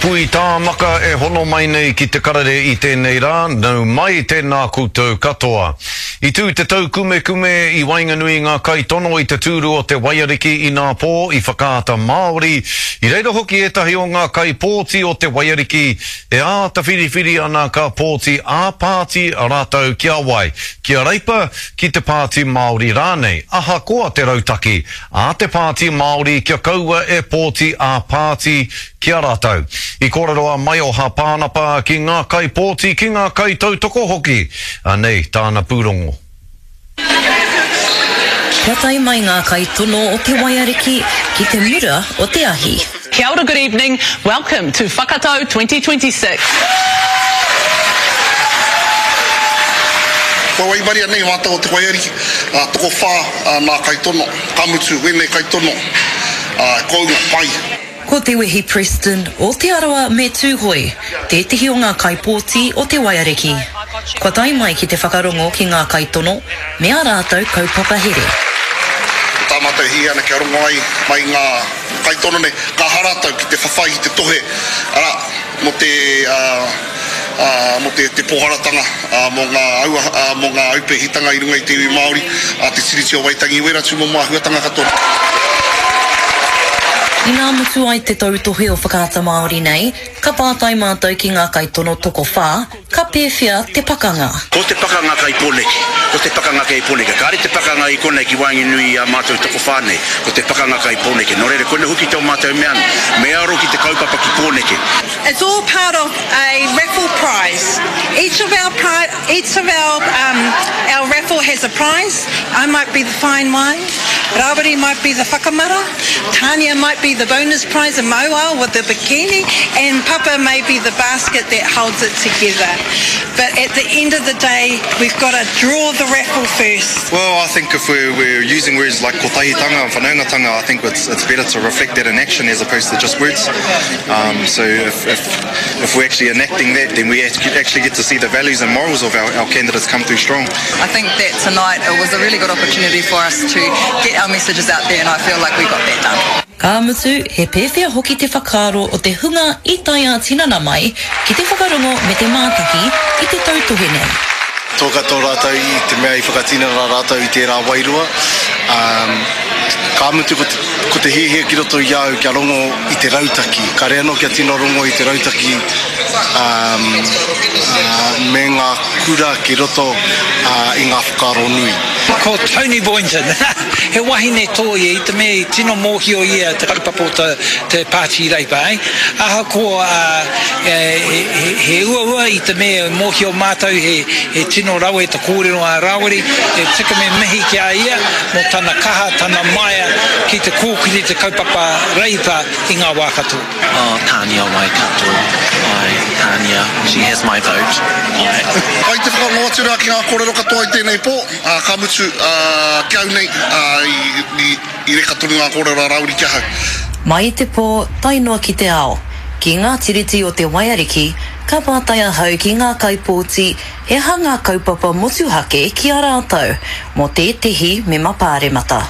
Pui Tāmaka e hono mai nei ki te karere i tēnei rā, nau mai tēnā koutou katoa. I tū te taukumekume i waenganui i ngā kaitono i te tūru o Te Waiariki inapō i Whakaata Māori, i reira hoki ētahi o ngā kaipōti o Te Waiariki e āta whiriwhiri ana ka pōti ā-pāti rātou ki a wai, ki a Reipa, ki te Pāti Māori rānei, ahakoa te rautaki a te Pāti Māori kia kaua e pōti ā-pāti ki a rātou. I kōrero a Maioha Pānapa ki ngā kaipōti, ki ngā kaitautoko hoki. Anei tāna pūrongo. Kia tae mai ngā kaitono o Te Waiariki ki te mura o te ahi. Kia ora good evening, welcome to Whakatau 2026. Kua waimaria nei mātou o Te Waiariki, ā, tokowhā nā kaitono, ka mutu wēnei kaitono, ā, kounga pai. Ko Te Wehi Preston o Te Arawa me Tūhoe tētehi o ngā kaipōti o Te Waiariki. Kua tae mai ki te whakarongo ki ngā kaitono me ā rātou kaupapa here. Ko tā mātou e hiahia ana kia rongo ai mai ngā kaitono nei, ka aha rātou ki te whawhai ki te tohe, arā, mō te, ā, mō te, te pōharatanga, ā, mō ngā aua, ā, mō ngā aupēhitanga i runga i te iwi Māori, ā, te Tiriti o Waitangi, wērā tūmomo āhuatanga katoa. Inā mutu ai te tautohe o Whakaata Māori nei, ka pātai mātou ki ngā kaitono tokowhā, ka pēwhea te pakanga? Ko te pakanga kai Pōneke, ko te pakanga kei Pōneke. Kāre te pakanga i konei ki waenganui i a mātou tokowhā nei, ko te pakanga kai Pōneke. Nō reira, koina hoki tō mātou mea, me aro ki te kaupapa ki Pōneke. It's all part of a raffle prize. Each of our each of our um, our raffle has a prize. I might be the fine wine, Rawiri might be the whakamara, Tania might be the bonus prize and Mauao with the bikini, and Papa may be the basket that holds it together. But at the end of the day, we've got to draw the raffle first. Well, I think if we're, we're using words like kotahitanga and whanaungatanga, I think it's, it's better to reflect that in action as opposed to just words. Um, so if, if, if we're actually enacting that, then we actually get to see the values and morals of our, our candidates come through strong. I think that tonight it was a really good opportunity for us to get our messages out there and I feel like we got that done. Ka mutu, he pēwhea hoki te whakaaro o te hunga i tae ā-tinana mai ki te whakarongo me te mātaki i te tautohe nei. Toa katoa rātou i te mea i whakatinana rātou i tērā wairua. Ka mutu ko te, ko te hiahia ki roto i a au kia rongo i te rautaki. Kāre anō kia tino rongo i te rautaki me ngā kura ki roto i ngā whakaaro nui. Ko Tony Boynton, he wahine tō ia i te mea i tino mōhio ia te kaupapa o te Pāti Reipa. Ahakoa he uaua i te mea e mōhio mātou he tino rawe te kōrero a Rāwiri, e tika me mihi ki a ia mō tana kaha, tana maia ki te kōkiri te kaupapa Reipa i ngā wā katoa. Oh, Tania Waikato, ae, Tania, she has my vote, ae. Pai te whakarongo atu rā ki ngā kōrero katoa i tēnei pō, ā, ka mutu, ā, ki au nei, ā, i, i, i reka tonu ngā kōrero a Rāwiri ki ahau. Mai i te pō tae noa ki te ao, ki ngā tiriti o te Waiariki, ka pātai ahau ki ngā kaipōti he aha ngā kaupapa motuhake ki a rātou mō tētehi mema pāremata.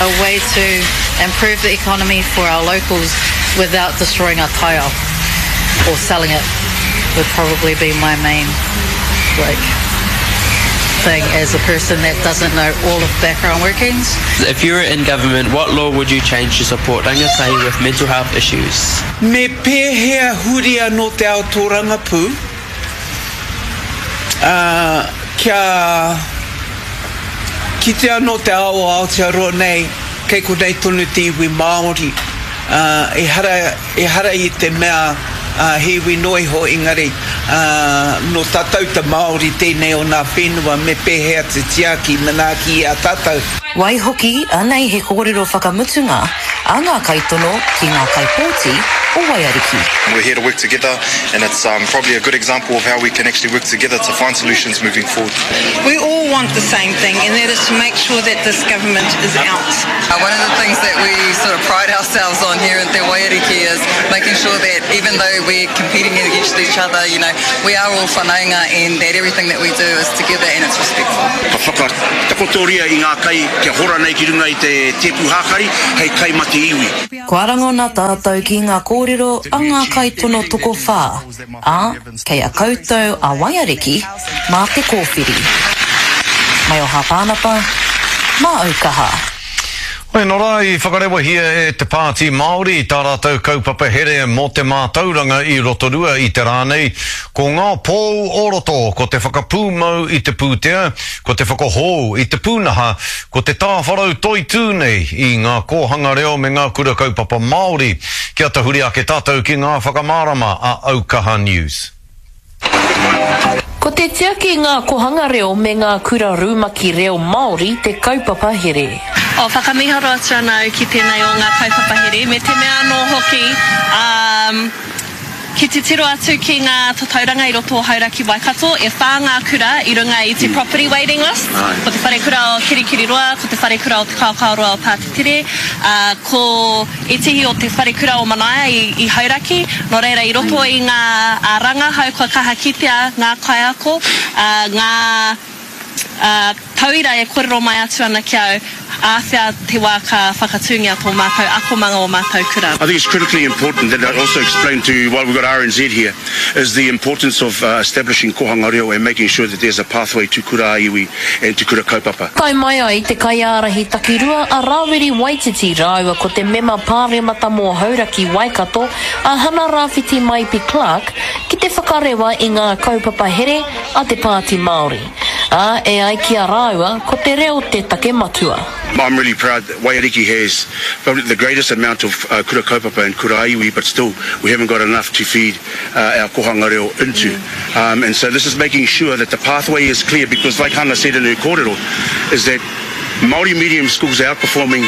A way to improve the economy for our locals without destroying our taiao or selling it would probably be my main like thing as a person that doesn't know all of background workings. If you were in government, what law would you change to support rangatahi with mental health issues? Me pēhea huri anō te ao tōrangapū, ā, kia kite anō te ao o Aotearoa nei, kei konei tonu te iwi Māori, ā, ehara, ehara i te mea, ā, he iwi noa iho, engari, ā, nō tātou te Māori tēnei o nā whenua, me pēhea te tiaki, manaaki i a tātou. Waihoki, anei he kōrero whakamutunga a ngā kaitono ki ngā kaipōti o Waiariki. We're here to work together and it's probably a good example of how we can actually work together to find solutions moving forward. We all want the same thing and that is to make sure that this government is out. One of the things that we sort of pride ourselves on here in Te Waiariki is making sure that even though we're competing against each other, you know, we are all whanaunga and that everything that we do is together and it's respectful. Ka whakatakotoria i ngā kai kia hora nei ki runga i te tēpu hākari hei kai ma te iwi. Kua rangona tātou ki ngā kōrero a ngā kaitono tokowhā, ā, kei a koutou a Waiariki mā te kōwhiri. Mai o Hāpānapa, mā Aukaha. Hoi anō rā, i whakarewahia e Te Pāti Māori tā rātou kaupapa here mō te mātauranga i Rotorua i te rā nei. Ko ngā pou o roto, ko te whakapūmau i te pūtea, ko te whakahou i te pūnaha, ko te tāwharau toitū nei i ngā kōhanga reo me ngā kura kaupapa Māori. Kia tahuri ake tātou ki ngā whakamārama a Aukaha News. Ko te tiaki i ngā kohanga reo me ngā kura rumaki reo Māori te kaupapa here. Oh, whakamiharo atu ana au ki tēnei o ngā kaupapa here, me te mea anō hoki, um, ki titiro atu ki ngā tatauranga i roto o Hauraki Waikato, e whā ngā kura i runga i te property waiting list, ko te wharekura o Kirikiriroa, ko te wharekura o Te Kaokaoroa o Pātetere, ā, ko. Ētehi o te wharekura o Manaia i Hauraki, nō reira i roto i ngā rangahau kua kaha kitea ngā kaiako, ngā tauira e kōrero mai atu ana ki au, āwhea te wā ka whakatūngia tō mātou akomanga o mātou kura. I think it's critically important that I also explain to while we've got RNZ here is the importance of establishing kohanga reo and making sure that there's a pathway to kura ā-iwi and to kura kaupapa. Tae mai ai te kaiārahi takirua a Rawiri Waititi rāua ko te mema pāremata mō Hauraki Waikato a Hana Rawhiti Maipi Clarke ki te whakarewa i ngā kaupapa here a te Pāti Māori, ā, e ai ki a rāua ko te reo te take matua. I'm really proud that Waiariki has probably the greatest amount of kura kaupapa and kura iwi but still we haven't got enough to feed our kohanga reo into. Um, and so this is making sure that the pathway is clear because like Hana said in her kōrero, is that Māori medium schools are outperforming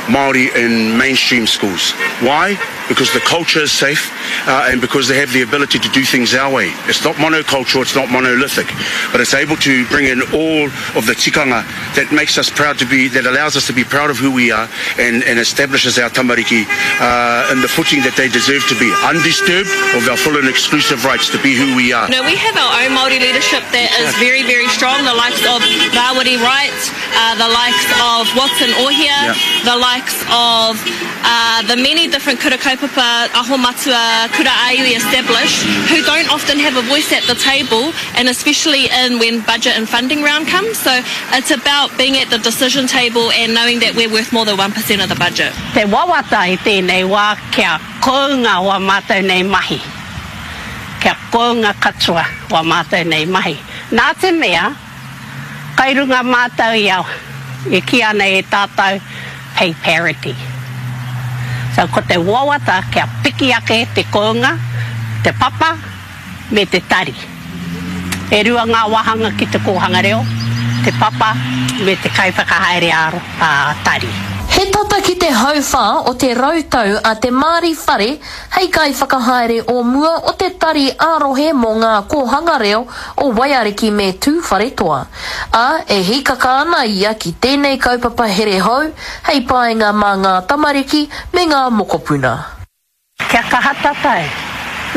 Māori in mainstream schools. Why? Because the culture is safe uh, and because they have the ability to do things our way. It's not monocultural, it's not monolithic, but it's able to bring in all of the tikanga that makes us proud to be, that allows us to be proud of who we are and, and establishes our tamariki uh, in the footing that they deserve to be, undisturbed of our full and exclusive rights to be who we are. You know, we have our own Māori leadership that is very, very strong, the likes of Rawiri Wright, uh, the likes of Watson Ohia, yeah. the likes of uh, the many different kura kaupapa, aho matua, kura āiwi established, who don't often have a voice at the table, and especially in when budget and funding round comes. So it's about being at the decision table and knowing that we're worth more than 1% of the budget. Te wawata i tēnei wā kia kounga wā mātou nei mahi. Kia kounga katoa wā mātou nei mahi. Nā te mea, kai runga mātou i a, e kī ana e tātou, pay parity. So ko te wawata kia piki ake te kounga, te papa, me te tari. E rua ngā wāhanga ki te kōhanga reo, te papa me te kaiwhakahaere ā-tari. He tata ki te hauwhā o te rautau a Te Maari Whare hei kaiwhakahaere o mua o te Tari ā-Rohe mō Ngā Kōhanga Reo o Waiariki me Tūwharetoa, ā, e hīkaka ana ia ki tēnei kaupapa here hou hei painga mā ngā tamariki me ngā mokopuna. Kia kaha tatou,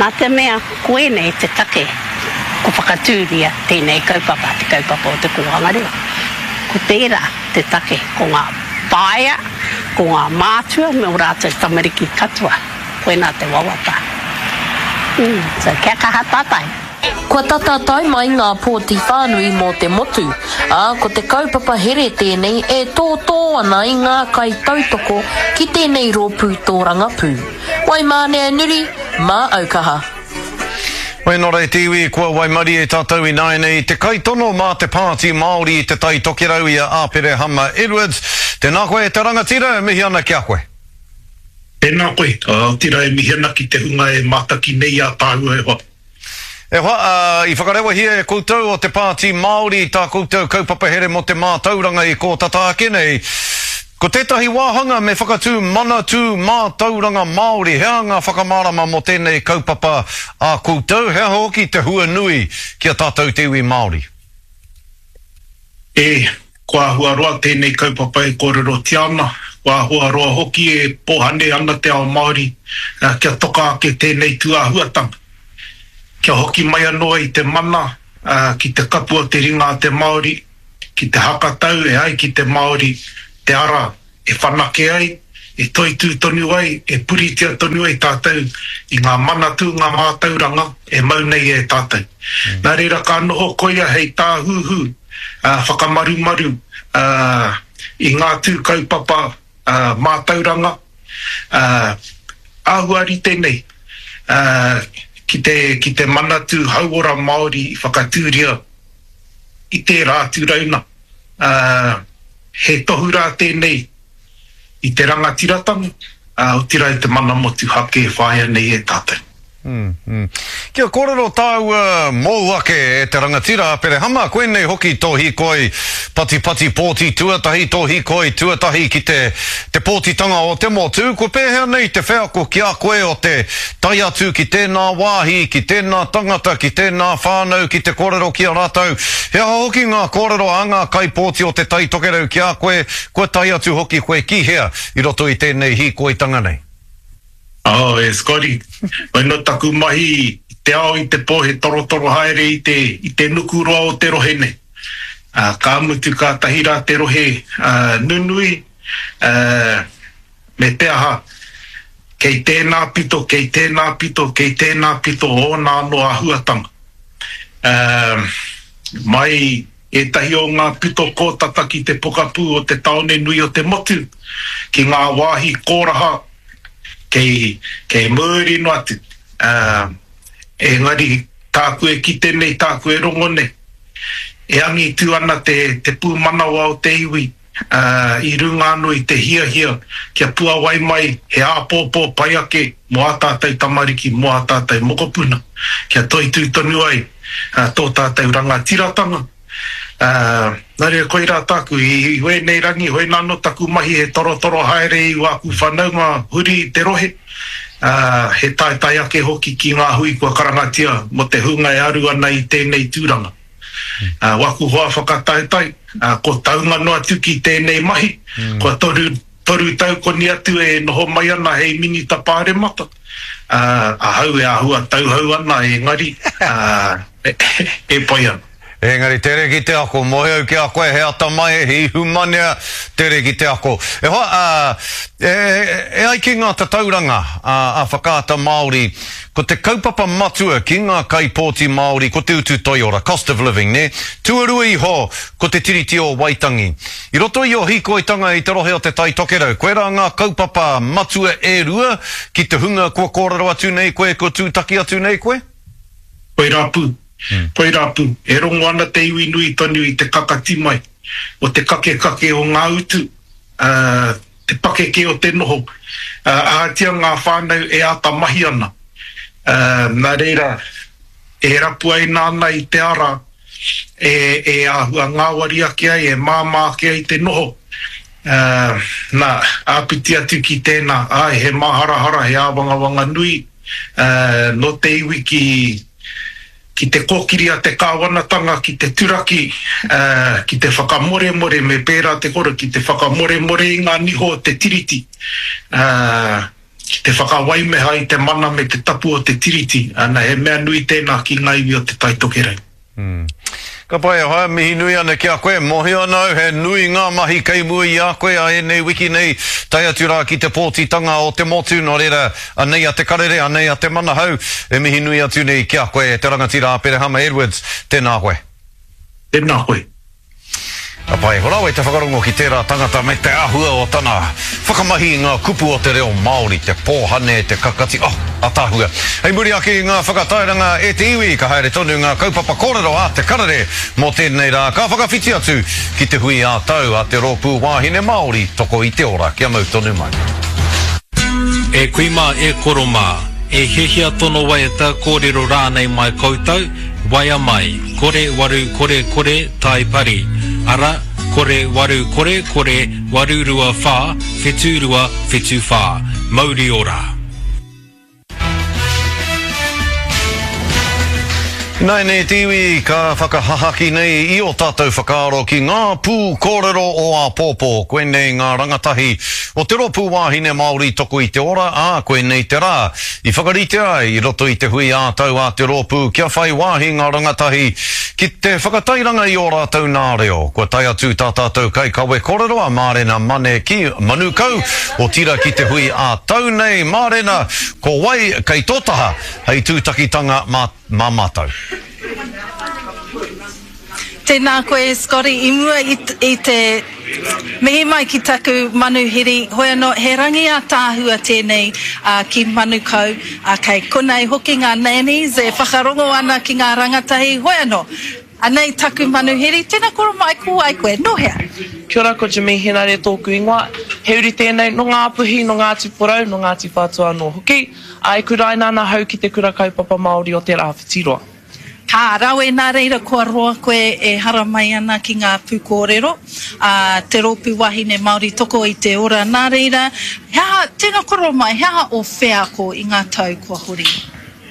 nā te mea koinei te take ko whakatūria tēnei kaupapa, te kaupapa o te kōhanga reo. Ko tērā te take, ko ngā whaea, ko ngā mātua me ō rātou tamariki katoa, koinā te wawata. So kia kaha tatou. Kua tata tae mai ngā pōti whānui mō te motu, ā, ko te kaupapa here tēnei e tōtō ana i ngā kaitautoko ki tēnei rōpū tōrangapū. Waimānea Nuri, mā Aukaha. Wēnā rā e te iwi, kua waimarie tātou ināianei i te kaitono mā te Pāti Māori i Te Tai Tokerau i a Āperehama Edwards. Tēnā koe e te rangatira, e mihi ana ki a koe. Tēnā koe, otirā e mihi ana ki te hunga e mātaki nei i a tāua e hoa. E hoa, ā, i whakarewahia e koutou o Te Pāti Māori tā koutou kaupapa here mō te mātauranga i kō tata ake nei. Ko tētahi wāhanga me whakatū Manatū Mātauranga Māori. He aha ngā whakamārama mō tēnei kaupapa a koutou? He aha hoki te hua nui ki a tātou te iwi Māori? E, kua āhua roa tēnei kaupapa e kōrerotia ana, kua āhua roa hoki e pōhane ana te ao Māori kia toka ake tēnei tūāhuatanga. kia hoki mai anō ai te mana ki te kapu o te ringa a te Māori, ki te hakatau e ai ki te Māori te ara e whanake ai, e toitū tonu ai, e puritia tonu ai tātou i ngā manatū, ngā mātauranga e mau nei e tātou. Nā reira ka noho koia hei tāhuhu whakamarumaru i ngā tū kaupapa mātauranga āhua rite nei ki te, ki te Manatū Hauora Māori i whakatūria i tērā atu rauna. He tohu rā tēnei i te rangatiratanga, otirā i te mana motuhake e whāia nei e tātou. Kia kōrero tāua mōu ake e te rangatira Aperehama, koinei hoki tō hīkoi patipati pōti tuatahi, tō hīkoi tuatahi ki te te pōtitanga o te motu, kua pēhea nei te wheako ki a koe o te tae atu ki tēnā wāhi, ki tēnā tangata, ki tēnā whānau ki te kōrero ki a rātou? He aha hoki ngā kōrero a ngā kaipōti o Te Tai Tokerau ki a koe, kua tae atu hoki koe ki hea i roto i tēnei hīkoitanga nei? Oh, e Scotty, koina taku mahi i te ao i te po he torotoro haere i te, i te nuku roa o te rohe nei. Ā, ka mutu kātahi rā te rohe, ā, nunui, ā, me te aha, kei tēnā pito, kei tēnā pito, kei tēnā pito ōna anō āhuatanga. Ā, mai ētahi o ngā pito kōtata ki te pokapū o te tāone nui o te motu, ki ngā wāhi kōraha kei, kei muri noa atu. Ā, engari tāku e kite nei, tāku e rongo nei, e angitu ana te, te pūmanawa o te iwi, ā, i runga anō i te hiahia kia puawai mai he āpōpō pai ake mō ā tātou tamariki, mō ā tātou mokopuna, kia toitū tonu ai tō tātou rangatiratanga. Ā, nā reira koirā tāku, i wēnei rangi, hoina anō taku mahi he torotoro haere i wāku whanaunga huri i te rohe, ā, he taetae ake hoki ki ngā hui kua karangatia mō te hunga e aru ana i tēnei tūranga. Ā, waku hoa whakataetae, ā, ko taunga noa atu ki tēnei mahi, kua 3, 3 tau koni atu e noho mai ana hei Minita Pāremata, ā, ahau e āhua tauhou ana engari, ā, e pai ana. Engari tere ki te ako, moe au ki a koe he atamai, he ihumanea, tere ki te ako. E hoa, ā, e, e ai ki ngā tatauranga a, a Whakaata Māori, ko te kaupapa matua ki ngā kaipōti Māori ko te utu toiora, cost of living, nē? Tuarua iho ko te Tiriti o Waitangi. I roto i ō hīkoitanga i te rohe o Te Tai Tokerau, koirā ngā kaupapa matua e rua ki te hunga kua kōrero atu nei koe, kua tūtaki atu nei koe? Koirā pū. Koirā pū, e rongo ana te iwi nui tonu i te kakati mai o te kakekake o ngā utu, ā, te pakeke o te noho, ā, ahatia ngā whānau e āta mahi ana. Ā, nā reira, e rapuaina ana i te ara e, e āhua ngāwari ake ai, e māmā ake ai te noho. Ā, nā, āpiti atu ki tēnā, āe, he māharahara, he āwangawanga nui, ā, nō te iwi ki, ki te kōkiri a te kāwanatanga ki te turaki, ā, ki te whakamoremore, me pērā te koro, ki te whakamoremore i ngā niho o te Tiriti, ā, ki te whakawaimeha i te mana me te tapu o te Tiriti, ana, he mea nui tēnā ki ngā iwi o Te Tai Tokerau. Ka pai e hoa, mihi nui ana ki a koe. Mōhio ana au he nui ngā mahi kei mua i a koe a ēnei wiki nei, tae atu rā ki te pōtitanga o te motu, nō reira, anei a Te Karere, anei a Te Manahau, e mihi nui atu nei ki a koe e te rangatira Aperehama Edwards, tēnā koe. Tēnā koe. Ka pai, rawe te whakarongo ki tērā tangata me te āhua o tana whakamahi i ngā kupu o te reo Māori, te pōhane, te kakati, oh, ataahua. Hei muri ake i ngā whakatairanga e te iwi, ka haere tonu ngā kaupapa kōrero a Te Karere mō tēnei rā, ka whakawhiti atu ki te hui ā-tau a te Rōpū Wāhine Māori Toko i te Ora. Kia mau tonu mai. E kui mā, e koro mā, e hiahia tono waiata, kōrero rānei mai koutou, waea mai, kore waru kore kore tai pari, ara, kore waru kore kore waru rua wha, whitu rua whitu wha. Mauri ora! Ināianei te iwi ka whakahahaki nei i ō tātou whakaaro ki ngā pū kōrero o āpōpō. Koinei ngā rangatahi o te Rōpū Wāhine Māori Toko i te Ora, ā, koinei te rā i whakaritea ai i roto i te hui ā-tau a te rōpū kia whai wāhi ngā rangatahi ki te whakatairanga i ō rātou nā reo. Kua tae atu tā tātou kaikawe kōrero a Mārena Mane ki Manukau, otirā ki te hui ā-tau nei. Mārena, ko wai kei tō taha? Hei tūtakitanga mā, mā mātou. Tēnā koe Scotty, i mua i, i te mihi mai ki taku manuhiri, hoi anō, he rangi ātaahua tēnei ā, ki Manukau, ā, kei konei hoki ngā nannies e whakarongo ana ki ngā rangatahi, hoi anō, Anei taku manuhiri, tena koro mai ko wai koe, no hea? Kia ora, ko Jimmy Henare tōku ingoa. He uri tēnei nō Ngāpuhi, nō Ngāti Porou, nō Ngāti Whātua anō hoki. Ā, e kuraina ana ahau ki Te Kura Kaupapa Māori o Te Rāwhitiroa. Ka rawe, nā reira kua roa koe e haramai ana ki ngā pūkōrero a Te Rōpū Wāhine Māori Toko i te Ora. Nā reira, he aha, tena koro mai, he aha ō wheako i ngā tau kua hori?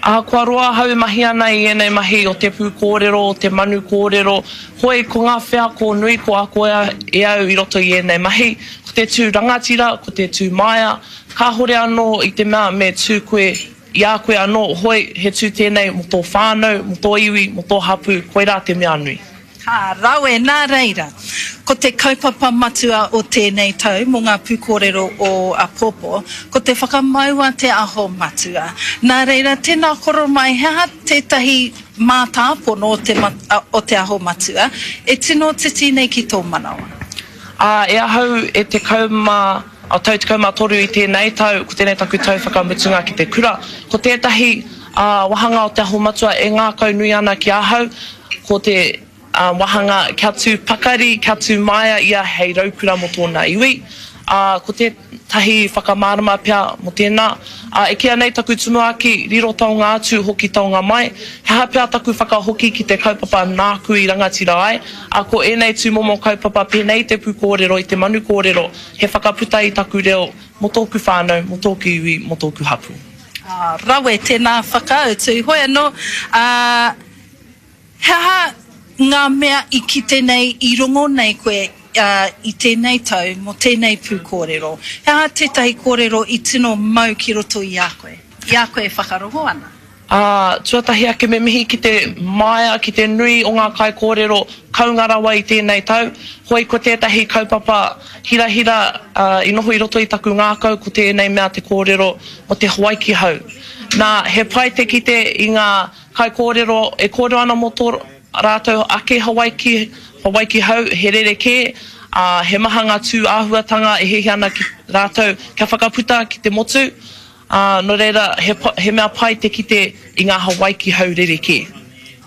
Ahakoa roa ahau e mahi ana i ēnei mahi o te pūkōrero, o te manu kōrero, hoi ko ngā wheako nui ko akoea e au i roto i ēnei mahi, ko te tū rangatira, ko te tū māia, kāhore anō i te mea me tū koe i a koe anō, hoi he tū tēnei mō tō whānau, mō tō iwi, mō tō hapū, koirā te mea nui. Ka rawe, nā reira, ko te kaupapa matua o tēnei tau mō ngā pūkōrero o apōpō, ko te whakamaua te aho matua. Nā reira, tēnā koro mai, he aha tētahi mātāpono o te, o te aho matua e tino titi nei ki tō manawa? Ā, e ahau e 10 a tau 13 i tēnei tau, ko tēnei taku tau whakamutunga ki te kura. Ko tētahi, ā, wāhanga o te aho matua e ngākaunui ana ki ahau, Ko te wāhanga kia tū pakari, kia tū māia ia hei raukura mō tōna iwi. Ā, ko tētahi whakamārama pea mō tēnā, ā, e kīia nei taku tumuaki, riro taonga atu, hoki taonga mai. He aha pea taku whakahoki ki te kaupapa nāku i rangatira ai? Ā, ko ēnei tūmomo kaupapa pēnei i te pūkōrero, i te manu kōrero, he whakaputa i taku reo mō tōku whānau, mō tōku iwi, mō tōku hapū. Ā, rawe tēnā whakautu. Hoi anō, ā, He aha ngā mea i kite nei, i rongo nei koe i tēnei tau mō tēnei pūkōrero? He aha tētahi kōrero i tino mau ki roto i a koe, i a koe e whakarongo ana? Ā, tuatahi ake me mihi ki te māia, ki te nui o ngā kaikōrero kounga rawa i tēnei tau. Hoi ko tētahi kaupapa hirahira i noho i roto i taku ngākau ko tēnei mea te kōrero mō te Hawaiki hau. Nā, he pai te kite i ngā Kaikōrero, e kōrero ana mō tō rātou ake Hawaiki, Hawaiki hau, he rerekē, ā, he maha ngā tū āhuatanga e hiahia ana ki rātou kia whakaputa ki te motu, ā, nō reira, he, he mea pai te kite i ngā Hawaiki hau rerekē.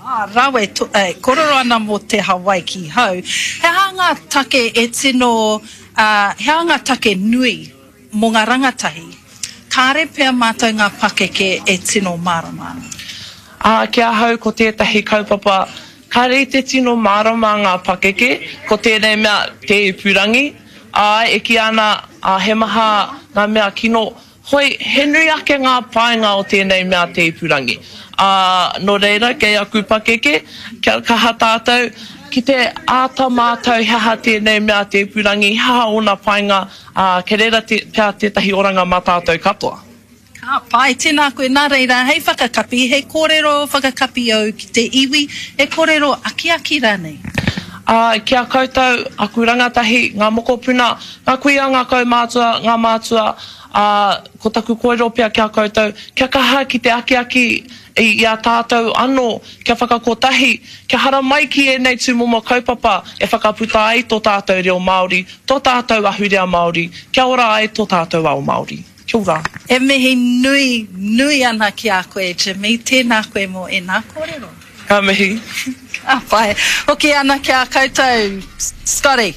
Ā, rawe, to, e, kōrero ana mō te Hawaiki hau. He aha ngā take e tino, ā, he aha ngā take nui Mō ngā rangatahi, kāre pea mātou ngā pakeke e tino mārama ana. Ā, ki ahau ko tētahi kaupapa kāre i te tino mārama ngā pakeke, ko tēnei mea te ipurangi, āe, e kīia ana, ā, he maha ngā mea kino, hoi, he nui ake ngā painga o tēnei mea te ipurangi. Ā, nō reira, kei aku pakeke, kia kaha tātou ki te āta mātau he aha tēnei mea te ipurangi, he aha ōna painga, Ā, kei reira te, pea tētahi oranga mā tātou katoa. Ka pai, tēnā koe. Nā reira, hei whakakapi, he kōrero whakakapi au ki te iwi, he kōrero akiaki rānei? Ā, ki a koutou, aku rangatahi, ngā mokopuna, ngā kuia, ngā kaumātua, ngā mātua, ā, ko taku kōrero pea ki a koutou, kia kaha ki te akiaki i a tātou anō, kia whakakotahi, kia haramai ki ēnei tūmomo kaupapa e whakaputa ai tō tātou reo Māori, tō tātou ahurea Māori, kia ora ai tō tātou ao Māori. Kia ora. E mihi nui, nui ana ki a koe Jimmy, tēnā koe mō ēnā kōrero. Ka mihi. Ka pai. Hoki ana ki a koutou, Scotty.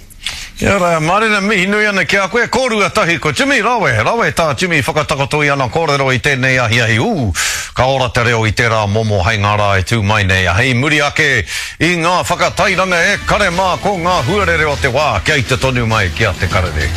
Kia ora, Marina, mihi nui ana ki a koe. Kōrua tahi ko Jimmy, rawe, rawe tā Jimmy whakatakoto i ana kōrero i tēnei ahiahi. Ū, ka ora te reo i tērā momo hei ngā rā e tū mai nei. Hei muri ake i ngā whakatairanga e kare mā ko ngā huarere o te wā kia ita tonu mai ki a Te Karere.